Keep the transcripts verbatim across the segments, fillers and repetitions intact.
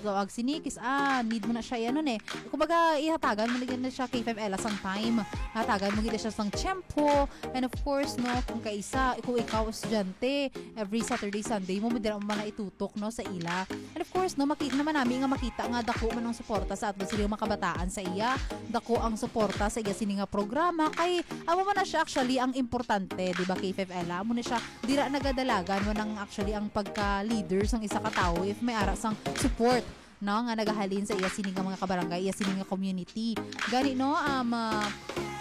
So, ag sini, kis-, ah, need mo na siya, ano, eh. Kumbaga, ihatagan mo na gid na siya, K five Ella, sang time. Hatagan mo gid na siya sang tiyempo. And of course, no, kung kaisa, kung ikaw estudyante, every Saturday, Sunday mo, dira mo man na itutok, no, sa ila. And of course, no, maki-, naman nami nga makita nga dako man ang suporta sa aton sila mga kabataan sa iya. Dako ang suporta sa iya sini nga programa. Kay, amo man na siya actually ang importante, di ba, K five Ella? Amo na siya, dira nagadalagan man ang actually ang pagka-leader sang isa ka tawo if may ara sang support, no, nga nagahalin sa iya sini nga mga kabarangay, iya sini nga community. Gani, no, um, ah,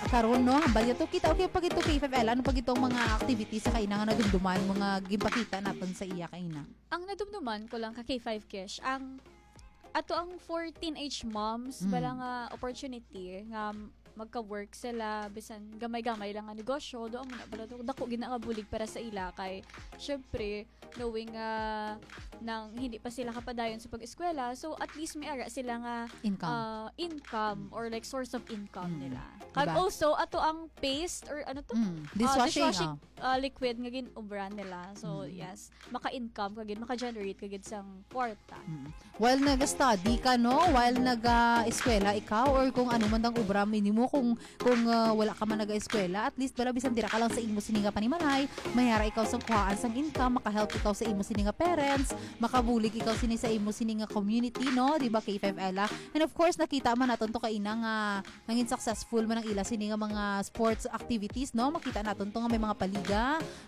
karon, no, hambal niya to, kita, okay, pag ito K five Ella, ano pag itong mga activities sa kaina nga nadumduman mo nga ginpakita naton sa iya kaina? Ang nadumduman ko lang ka K five Kesh, ang ato ang for teenage moms, Mm. bala nga opportunity nga magka-work sila, bisan gamay-gamay lang nga negosyo, doon mo na, bala, dako gid na nga bulig para sa ila kay, syempre, knowing nga nang hindi pa sila kapadayon sa pag-eskwela, so at least may ara sila nga Income. ah, income or like source of income Mm. nila. Kag Diba? also, ato ang paste or ano to? Mm. Ah, Dishwashing, dishwashing, ah. ah, liquid nga gin-ubra nila. So, Mm. yes, maka-income ka gid, maka-generate ka gid sang kwarta. Mm. While nag-study ka, no? While nag-eskwela ikaw or kung ano man ang obra mo, kung, kung, ah, wala ka man nag-eskwela, at least bala bisan dira ka lang sa imo sini nga panimalay, may ara ikaw sang kuhaan sang income, maka-help ikaw sa imo sini nga parents, makabulig ikaw sini sa imo sini nga community, no? Di ba, K five Ella? And of course, nakita man naton to kaina nga nangin successful man ang ila sini nga mga sports activities, no? Makita naton to nga may mga paliga,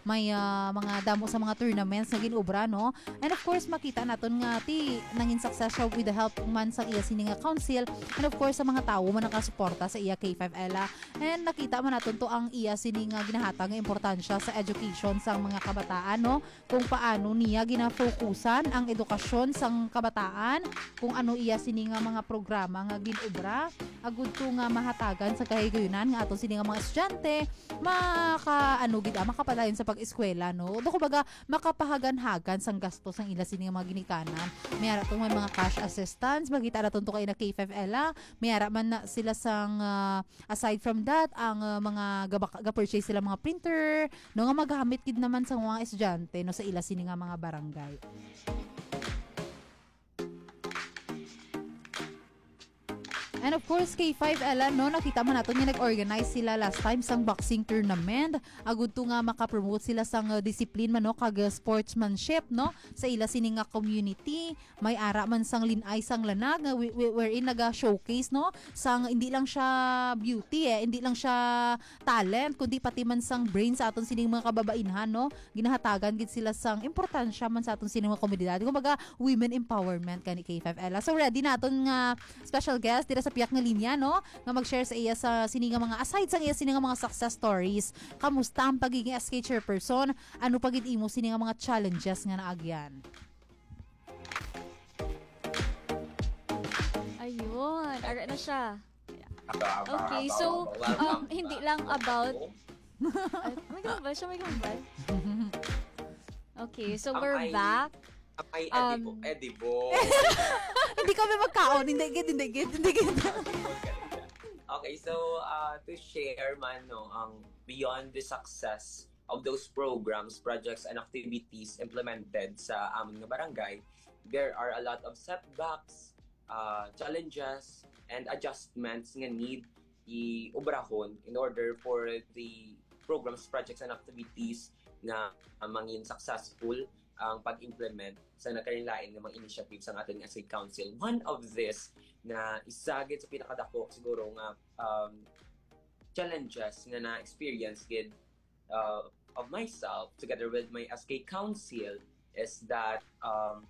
may, ah, mga damo sa mga tournaments nga gin-obra, no? And of course, makita naton nga ti nangin success siya with the help man sa iya sini nga council, and of course, sa mga tawo man nakasuporta sa iya K five Ella. And nakita man naton to ang iya sini nga ginahatag nga importansya sa education sang mga kabataan, no? Kung paano niya ginafokusan ang edukasyon sang kabataan, kung ano iya sini nga mga programa nga gin-obra, agud to nga mahatagan sa kahigayunan nga aton sini nga mga estudyante maka-, ano gid, ah, makapadayon sa pag-eskwela, no? Do, kumbaga, makapahaganhagan sang gasto sang ila sini nga mga ginikanan. May ara tong may mga cash assistance, makita naton to kay na K five Ella, may ara man na sila sang, ah, aside from that, ang, ah, mga gabak-, ga-purchase sila mga printer, no, nga magamit gid naman sa mga estudyante, no, sa ila sini nga mga barangay. And of course, K five Ella, no, nakita man nato nga nag-organize sila last time sang boxing tournament. Agud to nga makapromote sila sang, uh, discipline man, no, kag, uh, sportsmanship, no, sa ila sini nga community. May ara man sang lin-ay sang lanag nga wi-, wi-, wherein naga-showcase, no, sang hindi lang siya beauty, eh, hindi lang siya talent, kundi pati man sang brain sa aton sining mga kababainhan, no? Ginahatagan gid sila sang importansya man sa aton sining mga komunidad. Kumbaga, women empowerment kani K five Ella. So, ready naton nga special guest dira sa piyak nga linya, no? Nga mag-share sa iya sa sini nga mga, aside sa iya sini nga mga success stories. Kamusta ang pagiging S K chairperson? Ano pa gid imo sini nga mga challenges nga naagyan? Ayun, ara na siya. Aba, aba, Okay, aba, so, aba, aba, um, aba, hindi aba, lang aba, about aba. Ay, may gambal siya, may gambal. Okay, so Am we're I, back. am I Um, edible? Edible. Hindi kami magkaon. Hindi gid, hindi gid, hindi gid. Okay, so, uh, to share man, no, ang beyond the success of those programs, projects, and activities implemented sa amon nga barangay, there are a lot of setbacks, uh, challenges, and adjustments nga need i-obrahon in order for the programs, projects, and activities nga mangin successful ang pag-implement sa nagkalain-lain nga mga initiatives sang aton nga S K Council. One of this na isa gid sa pinakadako siguro nga, um, challenges nga na-experience gid, uh, of myself together with my S K Council is that, um,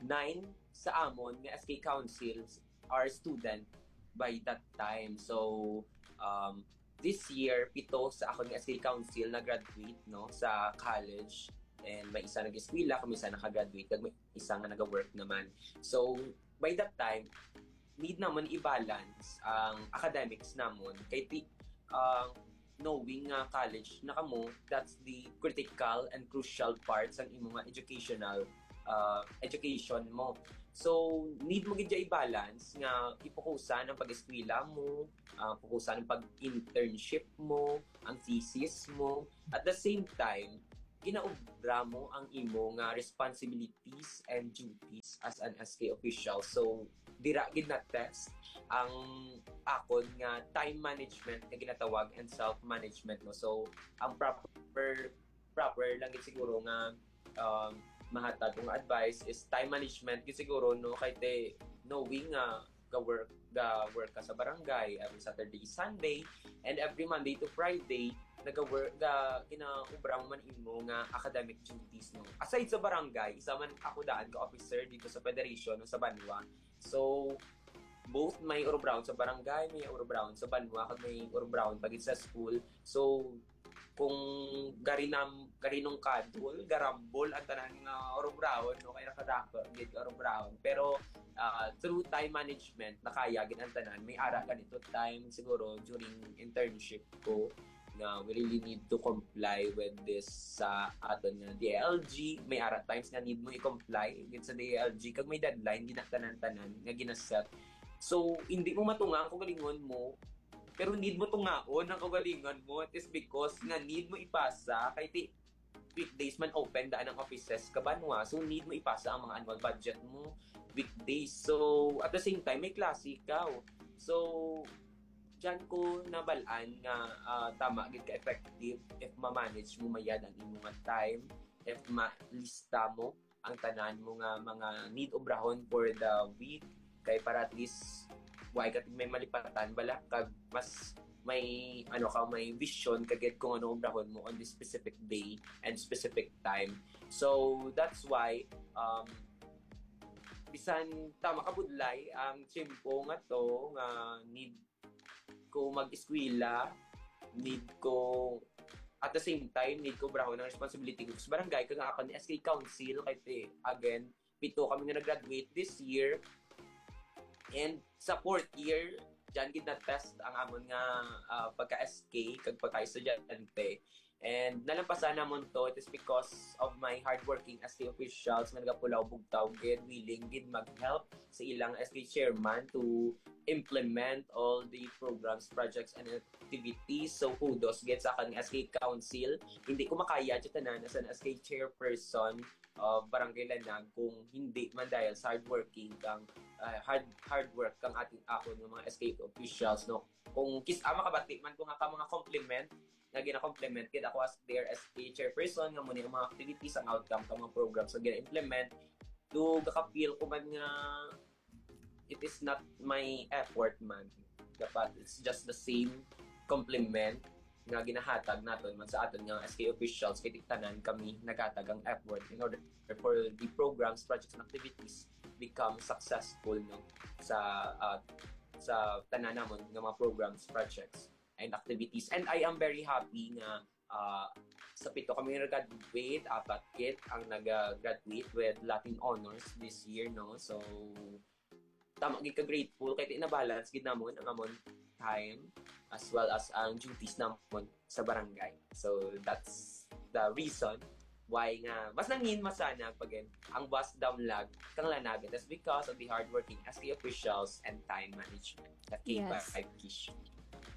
nine sa amon nga S K Councils are student by that time. So, um, this year, pito sa akon nga S K Council na-graduate, no, sa college. And may isa nag-eskwela, kami isa naka-graduate, kag may isa nga naga-work naman. So, by that time, need naman i-balance ang academics namon. Kay ti-, ang knowing nga college na kamo, that's the critical and crucial part sang imo nga educational, uh, education mo. So, need mo gid siya i-balance nga ipukusan ang pag-eskwela mo, uh, pukusan ang pag-internship mo, ang thesis mo. At the same time, ginaobra mo ang imo nga responsibilities and duties as an S K official. So, dira gid na-test ang akon nga time management nga ginatawag and self-management, no? So, ang proper, proper lang gid siguro nga, um, mahatag kong advice is time management gid siguro, no? Kay te, knowing nga ga-work, ga-work ka sa barangay every Saturday, Sunday, and every Monday to Friday, naga-work, ga-, ginaobra mo man imo nga academic duties, no? Aside sa barangay, isa man ako daan ka officer dito sa federation, no, sa banwa. So, both may urubrahon sa barangay, may urubrahon sa banwa, kag may urubrahon pa gid sa school. So, kung garinam-, garinungkadol, garambol ang tanan nga urubrahon, no? Kay nakadako gid ka urubrahon. Pero, ah, through time management, nakaya gid ang tanan. May ara ganito time siguro during internship ko nga we really need to comply with this sa aton nga D I L G. May ara times nga need mo i-comply gid sa D I L G kag may deadline gid ang tanan-tanan nga ginaset. So, hindi mo matunga ang kaugalingon mo, pero need mo tungaon ang kaugalingon mo. It is because nga need mo ipasa kay ti weekdays man open daan ang offices ka banwa. So, need mo ipasa ang mga annual budget mo weekdays. So, at the same time, may klase ikaw. So, dyan ko nabalaan nga, ah, tama gid ka effective if ma-manage mo mayad ang imo nga time, if ma-lista mo ang tanan mo nga mga need obrahon for the week, kay para at least why ka may malipatan bala, kag mas may, ano ka, may vision ka gid kung ano obrahon mo on this specific day and specific time. So, that's why, um, bisan tama ka budlay ang tiyempo nga to nga need ko mag-eskwela, need ko, at the same time, need ko obrahon ang responsibility ko sa barangay, kag ang akon S K Council, kay ti, again, pito kami nga nag-graduate this year. And sa fourth year, dyan gid na-test ang amon nga, ah, pagka-S K kag pagka-estudyante. And nalampasan namon to, it is because of my hardworking S K officials nga nagapulaw bugtaw gid, willing gid mag-help sa ilang S K chairman to implement all the programs, projects, and activities. So, kudos gid sa akon nga S K Council. Hindi ko makaya sa tanan as an S K chairperson of Barangay Lanag kung hindi man dahil sa hardworking kang, ah, hard, hard work kang ating, akon nga mga S K officials, no? Kung kis-, ah, makabati man ko nga ka mga compliment, nga gina-compliment gid ako as their S K chairperson, nga muna yung mga activities, ang outcome ka mga programs nga gina-implement, do gaka-feel ko man nga it is not my effort man. Dapat it's just the same compliment nga ginahatag naton man sa aton nga S K officials, kay tanan kami naghatag ang effort in order for the programs, projects, and activities become successful, no, sa, ah, sa tanan namon nga mga programs, projects, and activities. And I am very happy nga, ah, sa pito kami nag-graduate, apat gid ang nag-graduate with Latin honors this year, no? So, tama gid ka grateful kay na-balance gid namon ang amon time as well as ang duties namon sa barangay. So, that's the reason why nga mas nangin masana pag ang bus damlag kang Lanag. That's because of the hardworking S K officials and time management. That came Yes. by Kish.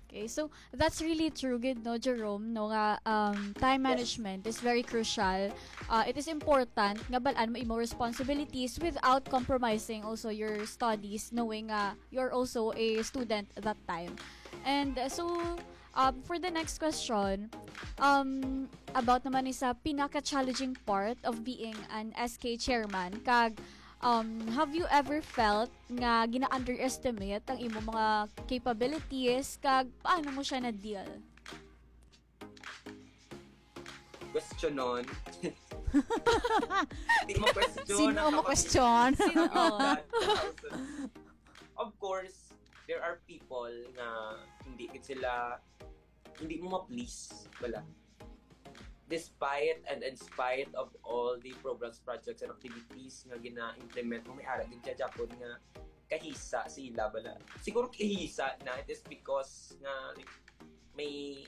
Okay, so that's really true gid, no, Jerome, no, nga, um, time Yes. management is very crucial. Uh, it is important nga balaan mo imo responsibilities without compromising also your studies, knowing nga you're also a student that time. And, uh, so, um, for the next question, um, about naman ni sa pinaka-challenging part of being an S K chairman, kag, um, have you ever felt nga gina-underestimate ang imo mga capabilities, kag paano mo siya na-deal? Questionon. Di mo question. Sino mo question? Sino? Of course, there are people nga hindi gid sila, hindi mo ma-please, wala. Despite and in spite of all the programs, projects, and activities nga gina-implement mo, may ara gid siya Japon nga kahisa sila bala. Siguro kahisa na, it is because nga, like, may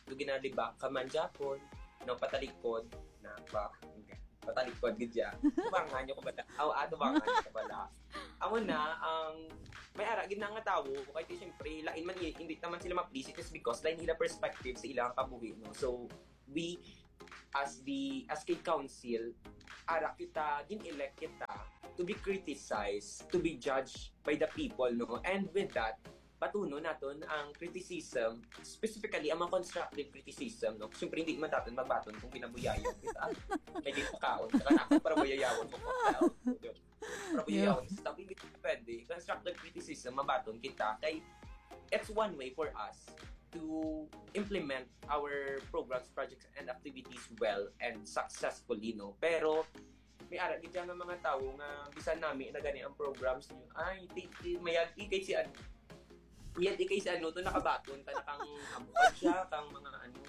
do ginalibak ka man Japon, no, patalikod na pa, patalikod gid siya. Tubangan niyo ko bala. Aw, ah, tubangan niyo ko bala. Amo na, ang may ara gid na nga tawo, kay ti, siyempre, lain man, i- hindi naman sila ma-please, it is because lain nila perspective sa ilang kabuhi, no? So, we as the S K Council, ara kita, gin-elect kita to be criticized, to be judged by the people, no? And with that, batunon naton ang criticism, specifically ang mga constructive criticism, no? Siyempre, hindi man naton magbaton kung binabuyayaw kita. May di pakaon, saka ako para buyayawan mo ko. Para buyayawan mo sa tabi, hindi pwede. Constructive criticism, mabaton kita. Kay, it's one way for us to implement our programs, projects, and activities well and successfully, no? Pero, may ara gid nga mga tawo nga bisan nami na gani ang programs niyo. Ay, ti, ti, mayag ikay si ano. Mayag ikay si ano to nakabaton ta na kang abukan siya, kang mga ano.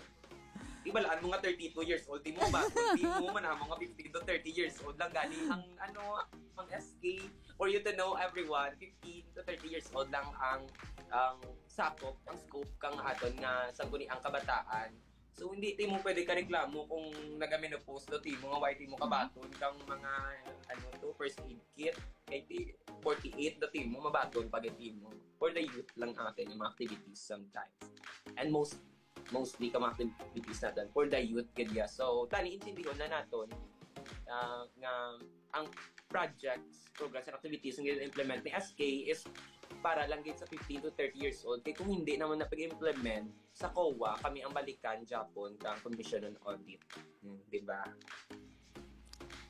Di ba laan mo nga thirty-two years old, di mo baton, di mo man amo nga fifteen to thirty years old lang gani ang ano, ang S K. For you to know, everyone, fifteen to thirty years old lang ang ang sakop, ang scope kang aton nga sangguniang kabataan. So, hindi ti mo pwede kareklamo kung nagamenopause do ti mo nga why ti mo kabaton kang mga, ano to, first aid kit. Kay ti forty-eight do ti mo, mabaton pa gid ti mo. For the youth lang atin yung mga activities sometimes. And most, mostly ka mga activities natin for the youth gid ya. So, tani intindihon na naton ah, nga ang projects, programs, and activities nga gina-implement ni S K is para lang gid sa fifteen to thirty years old. Kay kung hindi naman na pag-implement sa COA, kami ang balikan gyapon kang Commission on Audit. Hmm, di ba?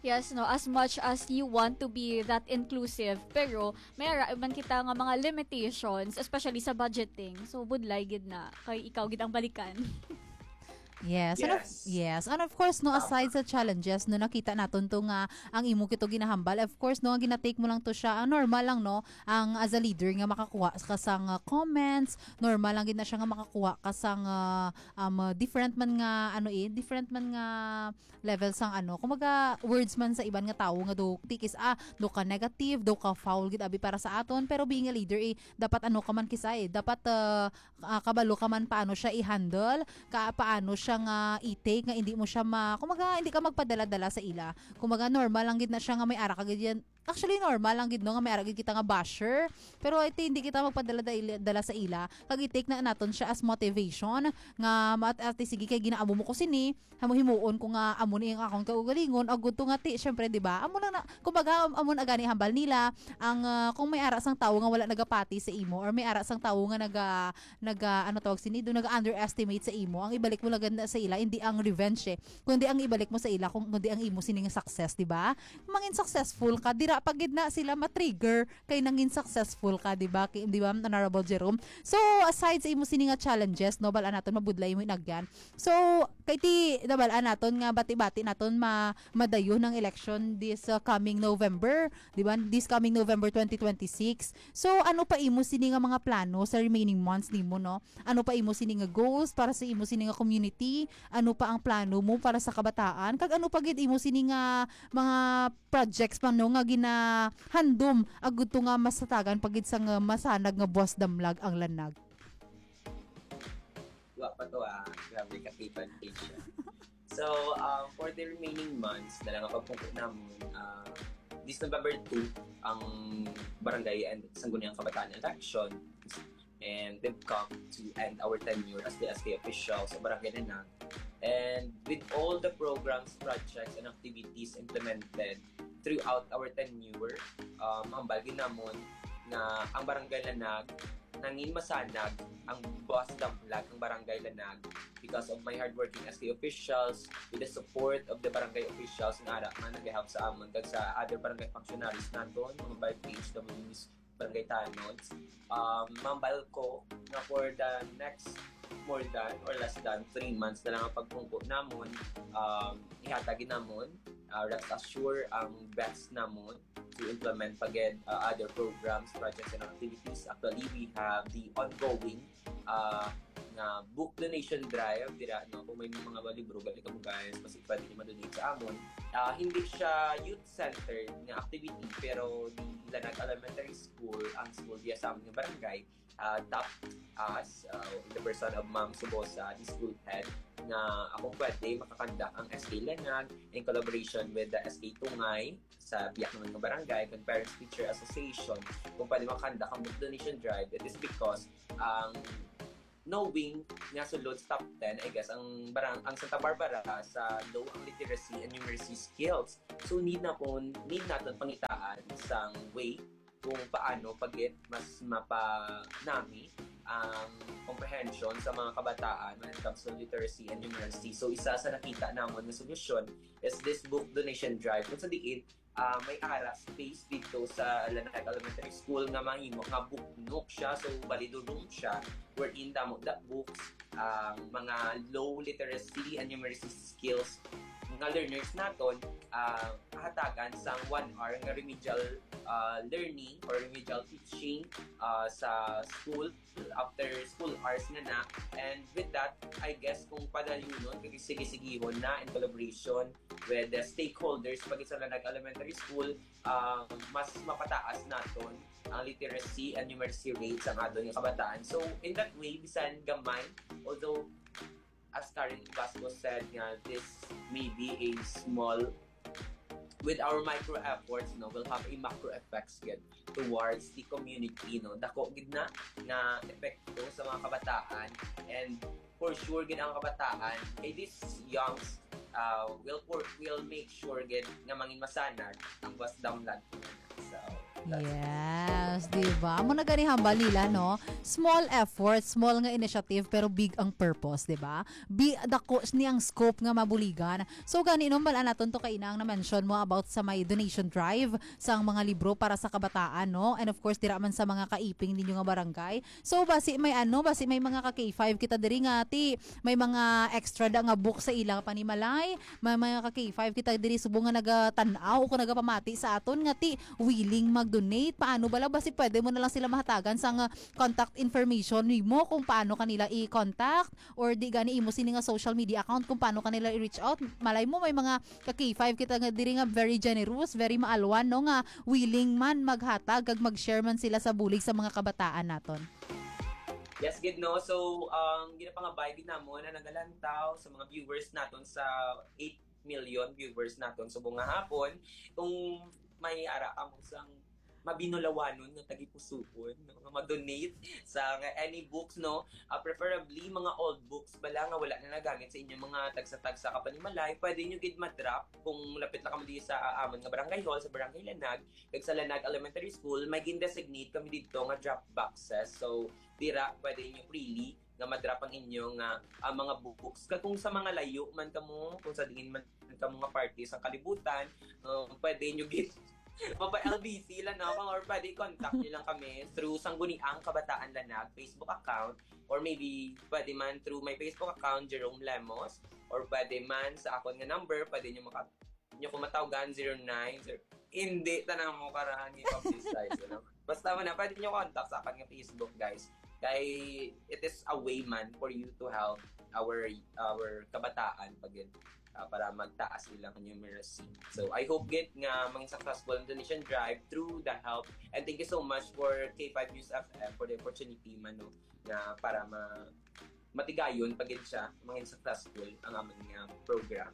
Yes, no, as much as you want to be that inclusive, pero may ara man kita nga mga limitations, especially sa budgeting. So, budlay gid na kay ikaw gid ang balikan. Yes. And of, Yes. yes. And of course, no, Tama. Aside sa challenges, no, nakita naton to nga ang imo kito ginahambal. Of course, no, ang ginatake mo lang to siya, ah, normal lang, no, ang as a leader nga makakuha ka sang ah, comments, normal lang gid na siya nga makakuha ka sang ah, um, ah, different man nga, ano eh, different man nga level sang ano. Kumbaga, words man sa iban nga tawo nga do tikis, ah, do ka negative, do ka foul gid abi para sa aton, pero being a leader eh, dapat ano ka man kisa eh, dapat ah, ah, kabalo ka man paano siya i-handle, ka paano siya nga i-take nga hindi mo siya ma, kumbaga hindi ka magpadala-dala sa ila. Kumbaga normal lang gid na siya nga may ara ka gid yan. Actually, normal lang gid no nga may ara gid kita nga basher. Pero ito hindi kita magpadala-dala sa ila. Kag i-take na naton siya as motivation nga maat ate sige kay ginaamo mo ko sini, hamo himuon ko nga amo ni ang akong kaugalingon. Agud to nga ti, syempre, di ba? Amo lang na, kumbaga, amo na gani hambal nila ang ah, kung may ara sang tawo nga wala nagapati sa imo or may ara sang tawo nga naga naga ano tawag sini do naga underestimate sa imo, ang ibalik mo lang gid na sa ila hindi ang revenge eh, kundi ang ibalik mo sa ila kung kundi ang imo sining success, di ba? Mangin successful ka, dira pa gid na sila ma-trigger kay nangin successful ka, di ba? Kay- Di ba, Honorable Jerome? So, aside sa imo sini nga challenges, no, bal-an naton mabudlay mo inagyan. So, kay ti nabal-an naton nga bati-bati naton ma madayon ang election this uh, coming November, di ba? This coming November twenty twenty-six. So, ano pa imo sini nga mga plano sa remaining months nimo, no? Ano pa imo sini nga goals para sa imo sini nga community? Ano pa ang plano mo para sa kabataan? Kag ano pa gid imo sini nga mga projects pa, no, nga ginahandom agud to nga masatagan pa gid sa nga masanag nga buwas damlag ang lanag? Wa pa to ah. Grabe ka, Kevin Page. So, um, for the remaining months, na lang ang pagpungko namun, uh, this November two, ang barangay and sangguniang kabataan election. And we've come to end our tenure as the S K officials sa Barangay Lanag. And with all the programs, projects, and activities implemented throughout our tenure, um, ang balgin namon na ang Barangay Lanag nangin masanag ang buwas damlag ang Barangay Lanag because of my hardworking S K officials, with the support of the barangay officials nga ara man nagahelp sa amon kag sa other barangay functionaries naton, mga barangay H Ws, barangay tanods. Um, mambal ko nga for the next more than or less than three months na lang ang pagpungko namon, um, ihatag namon, uh, rest assure ang best namon to implement pa gid uh, other programs, projects, and activities. Actually, we have the ongoing uh, nga book donation drive dira, no? Kung may mga libro gali kamo, guys, mas pwede niyo ma-donate sa amon. Uh, hindi siya youth-centered nga activity, pero the Lanag Elementary School ang school diya sa amon nga barangay, uh, tapped us, uh, in the person of Ma'am Subosa, the school head, nga ako pwede makakandak ang S K Lanag in collaboration with the S K Tungay sa biyak naman nga barangay, kag Parents Teacher Association, kung pwede makakandak ang book donation drive. It is because ang knowing nga sulod sa top ten, I guess, ang barang-, ang Santa Barbara sa low ang literacy and numeracy skills. So, need na pon, need naton pangitaan sang way kung paano pagit mas mapanami ang comprehension sa mga kabataan when it comes to literacy and numeracy. So, isa sa nakita namon nga solusyon is this book donation drive, kung sa diin, ah, may ara space dito sa Lanag Elementary School nga mahimo nga book nook siya. So, bali, do room siya wherein damo the books, ang mga low literacy and numeracy skills nga learners naton, ah, hatagan sang one hour nga remedial, ah, learning or remedial teaching, ah, sa school after school hours nga na. And with that, I guess kung padayunon, kag sige-sigihon na in collaboration with the stakeholders pag sa Lanag Elementary School, ah, mas mapataas naton ang literacy and numeracy rate sa aton nga kabataan. So, in that way, bisan gamay, although, as Karen Basco said nga, this may be a small, with our micro efforts, no, will have a macro effects gid towards the community, no. Dako gid na nga epekto sa mga kabataan, and for sure gid ang kabataan, kay these youngs, uh, will for, will make sure gid nga mangin masanag ang bus download. So, that's it. Yes, di ba? Amo na gani hambal nila, no? Small effort, small nga initiative, pero big ang purpose, di ba? Bi dako ni ang scope nga mabuligan. So gani, no, hambal-an naton to kaina ang na-mention mo about sa may donation drive sang mga libro para sa kabataan, no? And of course, dira man sa mga kaiping ninyo nga barangay. So basi may ano, basi may mga ka K five kita diri nga ti may mga extra da nga book sa ila panimalay, may mga ka K five kita diri subong nga nagatan-aw o kung nagapamati sa aton nga ti willing mag-donate. Paano bala, basi pwede mo na lang sila mahatagan sang, ah, contact information nimo kung paano kanila i-contact, or di gani imo sini nga social media account kung paano kanila i-reach out. Malay mo may mga ka K five kita nga diri nga very generous, very maalwan, no, nga willing man maghatag kag mag-share man sila sa bulig sa mga kabataan naton. Yes, gid, no? So, ang ginapangabay gid namon na nagalantaw sa mga viewers naton sa eight million viewers naton subong nga hapon. Kung may ara kamo sang mabinulawanon nga tagipusuon, no, nga mag-donate sa nga any books, no, ah, preferably mga old books bala nga wala na nagamit sa inyong mga tagsa-tagsa ka panimalay, pwede nyo gid ma-drop kung lapit lang kamo diri sa, ah, amon nga barangay hall, sa Barangay Lanag, kag sa Lanag Elementary School, may gin-designate kami didto nga drop boxes. So, dira pwede nyo freely nga ma-drop ang inyo nga, ah, mga books. Kag kung sa mga layo man kamo, kung sa diin man kamo nga parte sa kalibutan, um, pwede nyo gid mapa-L B C lang, no? Or pwede contact nyo lang kami through Sangguniang Kabataan Lanag Facebook account, or maybe pwede man through my Facebook account, Jerome Lemos, or pwede man sa akon nga number, pwede nyo maka-, nyo ko matawgan, zero nine zero. Hindi, tanan mo karahan ni publicize, ano? Basta mo na, pwede nyo contact sa akin nga Facebook, guys. Kay it is a way man for you to help our our kabataan pag, ah, para magtaas ilang numeracy. So, I hope gid nga maging successful ang donation drive through the help. And thank you so much for K five News F M for the opportunity man, no, nga para ma matigayon pagid siya, maging successful ang amon nga program.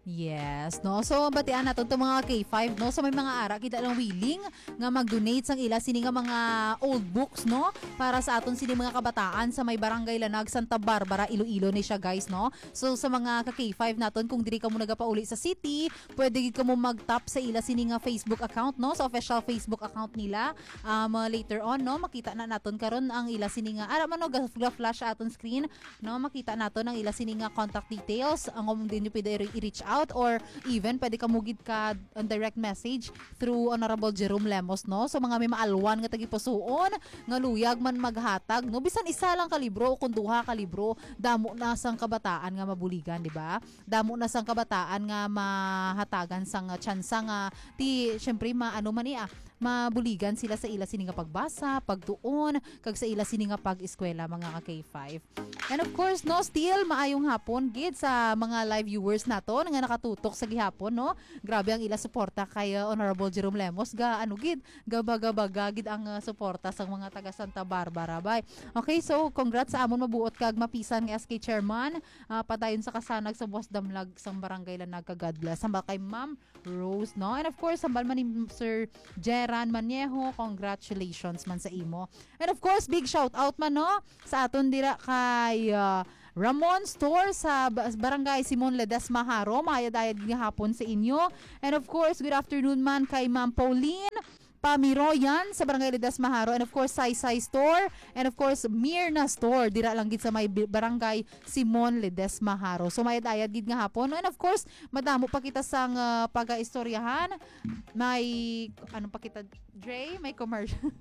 Yes, no? So, batian naton to mga K five, no? So, may mga ara kita lang willing nga mag-donate sang ila sini nga mga old books, no? Para sa aton sini mga kabataan sa may Barangay Lanag, Santa Barbara, Iloilo ni siya, guys, no? So, sa mga ka K five naton, kung diri kamo nagapauli sa city, pwede gid kamo mag-tap sa ila sini nga Facebook account, no? Sa official Facebook account nila. Um, uh, later on, no, makita na naton karon ang ila sini nga, ara man, no, ga- ga-flash sa aton screen, no, makita naton ang ila sini nga contact details, ang, um, din nyo pwede i- i-reach out, or even pwede kamo gid ka, ang direct message through Honorable Jerome Lemos, no? So, mga may maalwan nga tagipusuon nga luyag man maghatag, no, bisan isa lang ka libro o kung duha ka libro, damo na sang kabataan nga mabuligan, di ba? Damo na sang kabataan nga mahatagan sang tsansa nga ti, syempre, ma-, ano man ni, ah, mabuligan sila sa ila sini nga pagbasa, pagtuon, kag sa ila sini nga pag-eskwela, mga ka K five. And of course, no, still maayong hapon gid sa mga live viewers naton nga nakatutok sa gihapon, no? Grabe ang ila suporta kay, uh, Honorable Jerome Lemos. Ga, ano gid, gabaga-baga gid ang, uh, suporta sa mga taga Santa Barbara, bay. Okay, so congrats sa amon mabuot kag mapisan nga S K chairman. Ah, padayon sa kasanag sa buwas damlag sang barangay Lanaga. God bless. Hambal kay Ma'am Rose, no? And of course, hambal man ni Sir Jeran Maniejo, congratulations man sa imo. And of course, big shout out man, no? Sa aton dira kay, ah, Ramon Store sa ba-, Barangay Simon Ledesma Jaro. Mayad-ayad nga hapon sa inyo. And of course, good afternoon man kay Ma'am Pauline Pamiroyan sa Barangay Ledesma Jaro. And of course, Saysay Store. And of course, Mirna Store. Dira lang gid sa may bi-, Barangay Simon Ledesma Jaro. So, mayad-ayad gid nga hapon. And of course, madamo pa kita sang, ah, pagaistoryahan. May, ano pa kita, Dre? May commercial.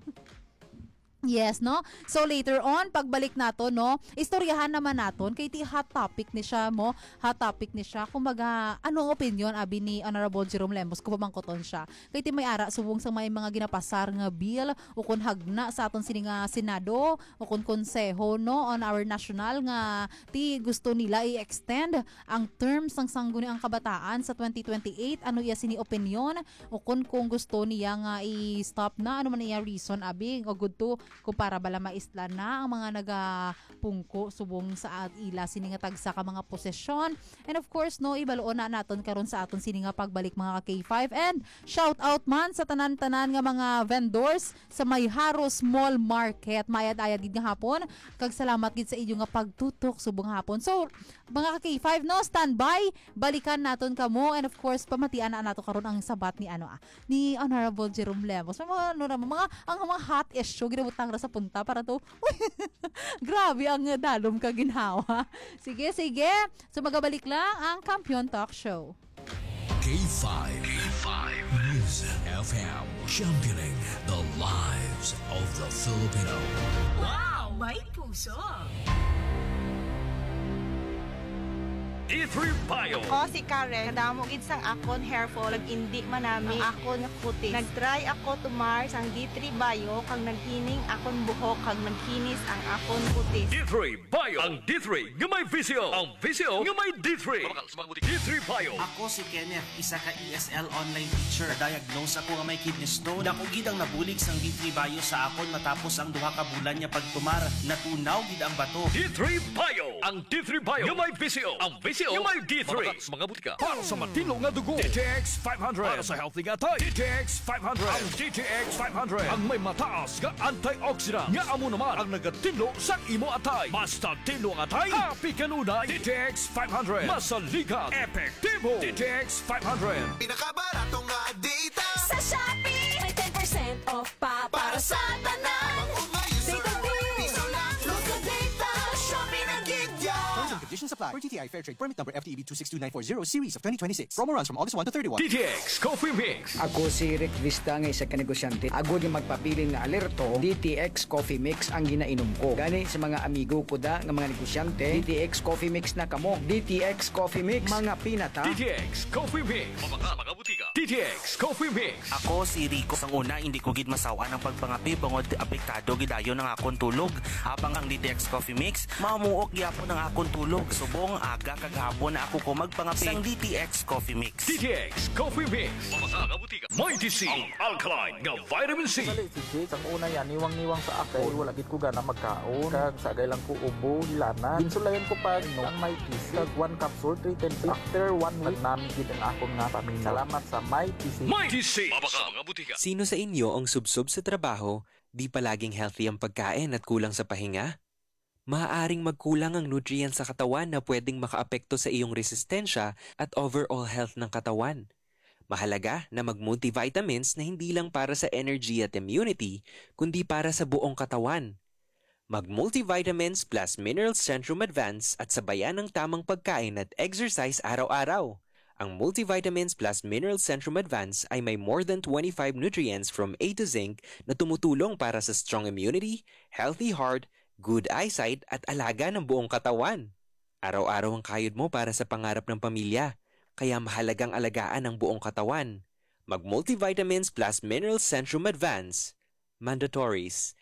Yes, no? So, later on, pagbalik nato, no, istoryahan naman naton, kay ti hot topic ni siya mo, hot topic ni siya. Kumbaga, ano ang opinion, abi ni Honorable Jerome Lemos, kung pamangkoton siya? Kay ti may ara subong sa may mga ginapasar nga bill, o kung hagna sa aton sini nga Senado, o kung konseho, no, on our national nga ti gusto nila i-extend ang term sang Sangguniang Kabataan sa twenty twenty-eight. Ano iya sini opinion? O kung, kung gusto niya nga i-stop na, ano man iya reason, abi, o good to, kung para bala maisla na ang mga nagapungko subong sa at ila sini nga tagsa ka mga posisyon. And of course, no, ibaloon na naton karon sa aton sini nga pagbalik, mga ka K five. And shout out man sa tanan-tanan nga mga vendors sa may Haros Mall Market. Mayad-ayad gid nga hapon. Kag salamat gid sa inyo nga pagtutok subong hapon. So, mga ka K five, no, standby. Balikan naton kamo. And of course, pamatian na nato karon ang sabat ni, ano, ah, ni Honorable Jerome Lemos. May mga, ano na, mga, ang mga hot issue, ginabutang ra sa punta para to. Grabe ang dalom ka ginhawa. Sige, sige. So, magabalik lang ang Kampiyon Talk Show. K five. K five News F M, championing the lives of the Filipino. Wow! May puso! D three Bio. Ako si Karen. Kadamo gid sang akon hair fall, nag-indi man nami ang akon nga kutis. Nag-try ako tumar sang D three Bio, kag naghining akon buhok, kag nagkinis ang akon kutis. D three Bio. Ang D three nga may visyo. Ang visyo nga may D three. Mabakal sa mga butika. D three Bio. Ako si Kenneth, isa ka E S L online teacher. Na-diagnose ako nga may kidney stone. Dako gid ang nabulig sang D three Bio sa akon matapos ang duha ka bulan nga pagtumar. Natunaw gid ang bato. D three Bio. Ang D three Bio nga may visyo. Ang visyo nga may D three. Mabakal sa mga butika. Para sa matinlo nga dugo, D T X five hundred. Para sa healthy nga atay, D T X five hundred. Ang D T X five hundred ang may mataas nga antioxidant, nga amo naman ang nagatinlo sa imo atay. Basta tinlo ang atay, happy kanunay. D T X five hundred. Masaligan, epektibo. D T X five hundred. Pinakabarato nga data. Sa Shopee, may ten percent off pa para sa tanan. Data deal. Local data. Shopee na gid ya. Terms and conditions apply. Per T T I Fair Trade Permit Number F T E B two six two nine four zero series of twenty twenty-six. Promo runs from August one to thirty-one. D T X Coffee Mix. Ako si Rick Vista nga isa ka negosyante. Agod nga magpabilin nga alerto, D T X Coffee Mix ang ginainom ko. Gani sa mga amigo ko da nga mga negosyante, D T X Coffee Mix na kamo. D T X Coffee Mix, mga pinata. D T X Coffee Mix. Mabakal sa mga butika. D T X Coffee Mix. Ako si Rico. Sang una, hindi ko gid masaw-an ang pagpangape bangod apektado gid dayon ang akon tulog. Habang ang D T X Coffee Mix, mamuok gyapon ang akon tulog. Subong aga kag hapon na ako ko magpangape sang D T X Coffee Mix. D T X Coffee Mix. Mabakal sa mga butika. Mighty C, ang alkaline nga vitamin C. Sali si Jake, sang una yan, niwang-niwang sa ako. Wala gid ko gana magkaon. Kag sagay lang ko ubo, hilana. Ginsulayan ko pa, no, ang Mighty C. Kag one capsule, three times. After one week, nami gid ang akon nga paminaw. Salamat sa Mighty C. Mighty C. Mabakal sa mga butika. Sino sa inyo ang subsob sa trabaho, di palaging healthy ang pagkain at kulang sa pahinga? Maaaring magkulang ang nutrients sa katawan na pwedeng makaapekto sa iyong resistensya at overall health ng katawan. Mahalaga na mag-multivitamins na hindi lang para sa energy at immunity, kundi para sa buong katawan. Mag-multivitamins plus minerals Centrum Advance at sabayan ng tamang pagkain at exercise araw-araw. Ang multivitamins plus minerals Centrum Advance ay may more than twenty-five nutrients from A to zinc na tumutulong para sa strong immunity, healthy heart, good eyesight, at alaga ng buong katawan. Araw-araw ang kayod mo para sa pangarap ng pamilya, kaya mahalagang alagaan ang buong katawan. Mag-multivitamins plus minerals Centrum Advance. Mandatories.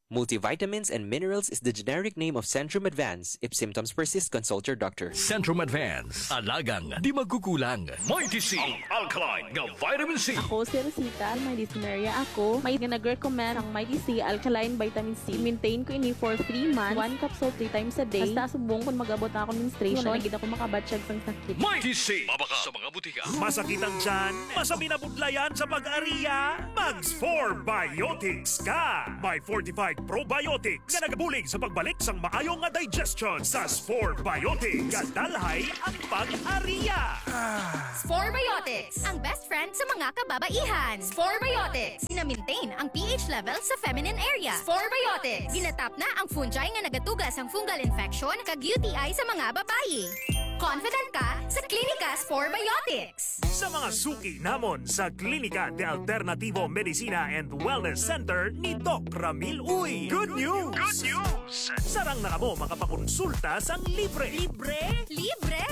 Multivitamins and minerals is the generic name of Centrum Advance. If symptoms persist, consult your doctor. Centrum Advance. Alagang di magkukulang. Mighty C, ang alkaline nga vitamin C. Ako si Rosita, may dysmenorrhea ako. May nga nag-recommend ang Mighty C alkaline vitamin C. Maintain ko ini for three months. One capsule three times a day. Basta subong kung mag-abot na akong menstruation, wala na gid ako makabatyag sang sakit. Mighty C. Mabaka sa mga butika. Masakit ang tiyan? Masabi na budlayan sa pag-ariya? Mag Spore Biotics ka! May fortified probiotics nga nagabulig sa pagbalik sang maayo nga digestion sa Spore Biotics. Kadalhay ang pag-ariya. Spore Biotics, ang best friend sa mga kababaihan. Spore Biotics, gina-maintain ang P H level sa feminine area. Spore Biotics, ginatap na ang fungi nga nagatuga sang fungal infection kag U T I sa mga babayi. Confident ka sa Klinika Spore Biotics. Sa mga suki namon sa Klinika de Alternativo Medicina and Wellness Center ni Doc Ramil Uy. Good news! Good news! Sarang na kamo makapakonsulta sang libre. Libre? Libre!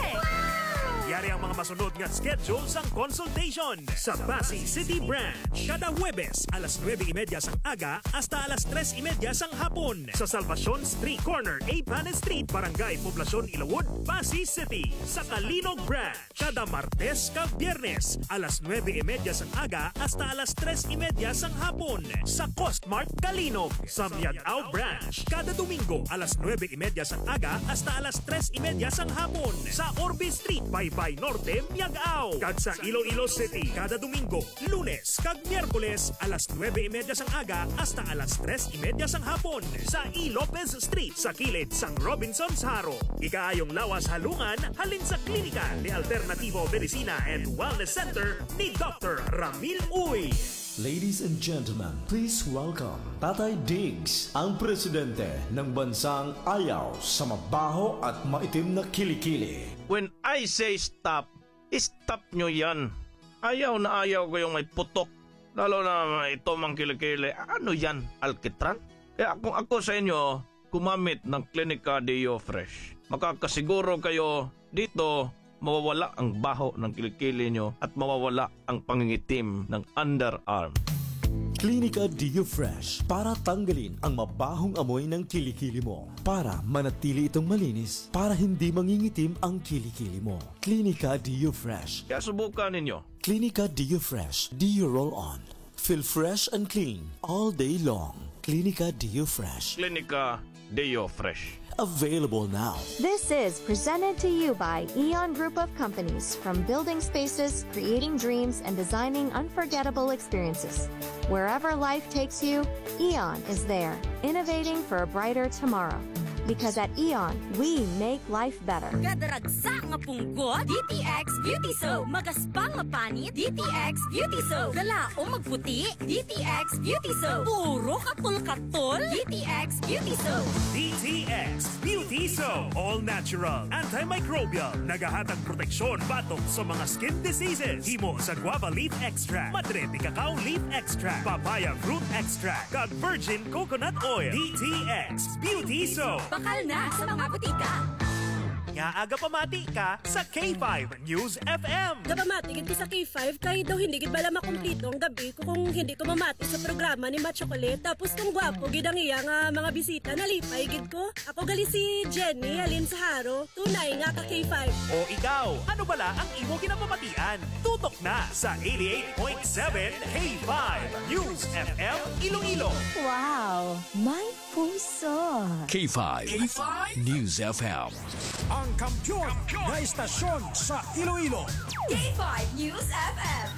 Yari ang mga masunod nga schedule sang consultation sa Passi City Branch. Kada Huwebes, alas nuebe y media sang aga hasta alas tres y media sang hapon. Sa Salvacion Street, corner Eighth Street, Barangay Poblacion, Ilawod, Passi City. Sa Calinog Branch, kada Martes kag Biyernes, alas nuebe y media sang aga hasta alas tres y media sang hapon. Sa Costmart Calinog, sa Miag-ao Branch, kada Domingo, alas nuebe y media sang aga hasta alas tres y media sang hapon. Sa Orbe Street, Baybay Norte, Miag-ao. Kag sa Iloilo City, kada Domingo, Lunes kag Miyerkules, alas nuebe y media sang aga hasta alas tres y media sang hapon, sa E. Lopez Street, sa kilid sang Robinsons Jaro. Ikaayong lawas halungan halin sa Klinika de Alternativo Medicina and Wellness Center ni Doctor Ramil Uy. Ladies and gentlemen, please welcome Tatay Diggs, ang presidente ng bansang ayaw sa mabaho at maitim na kilikili. When I say stop, stop nyo yan. Ayaw na ayaw ko yung may putok, lalo na may itom ang kilikili. Ano yan, alkitran? Kaya kung ako sa inyo, gumamit ng Klinika Deo Fresh. Makakasiguro kayo dito, mawawala ang baho ng kilikili nyo at mawawala ang pangingitim ng underarm. Klinika Deo Fresh para tanggalin ang mabahong amoy ng kilikili mo, para manatili itong malinis, para hindi mangingitim ang kilikili mo. Klinika Deo Fresh. Kaya subukan ninyo. Klinika Deo Fresh Deo Roll On. Feel fresh and clean all day long. Klinika Deo Fresh. Klinika Deo Fresh. Available now. This is presented to you by Eon Group of Companies. From building spaces, creating dreams, and designing unforgettable experiences. Wherever life takes you, Eon is there, innovating for a brighter tomorrow. Because at Eon, we make life better. Kadaragsa nga punggot, D T X Beauty Soap. Magaspang nga panit, D T X Beauty Soap. Kalaom magputi, D T X Beauty Soap. Puro katol-katol, D T X Beauty Soap. D T X Beauty Soap. All natural, antimicrobial. Nagahatag proteksyon batok sa mga skin diseases. Himo sa guava leaf extract, madre de cacao leaf extract, papaya fruit extract, kag virgin coconut oil. D T X Beauty Soap. Bakal na sa mga butika. Nga aga pamati ka sa K five News F M. Gapamati gid ko sa K five kay daw hindi gid bala makumpleto ang gabi ko kung hindi ko mamati sa programa ni Ma Chocolate. Tapos kung gwapo gid ang iya nga mga bisita, nalipay gid ko. Ako gali si Jenny, halin sa Jaro. Tunay nga ka K five. O ikaw, ano bala ang imo ginapamatian? Tutok na sa eighty-eight point seven K five News F M Iloilo. Wow! May puso. K five News F M. Ang kampiyon na istasyon sa Iloilo. K five News F M.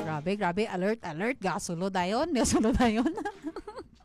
Grabe, grabe. Alert, alert. Gasulo dayon. Gasulo dayon.